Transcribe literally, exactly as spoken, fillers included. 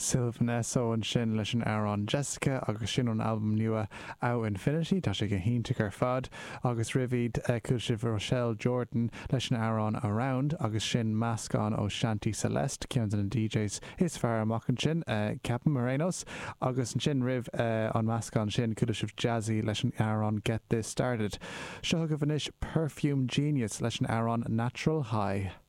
Sylvan Esso ansin leis an amhrán Jessica agus sin ón albam nua Ow Infinity tá sé go hiontach ar fad agus roimh iad chuala sibh Rochelle Jordan leis an amhrán Around agus sin meascán ó Shanti Celeste ceann de na DJs is fearr amach ansin ceapaim ar aon nós agus ansin roimh an meascán sin chuala sibh Jazzy leis an amhrán Get This Started. Seo chugaibh anois Perfume Genius leis an amhrán Natural High.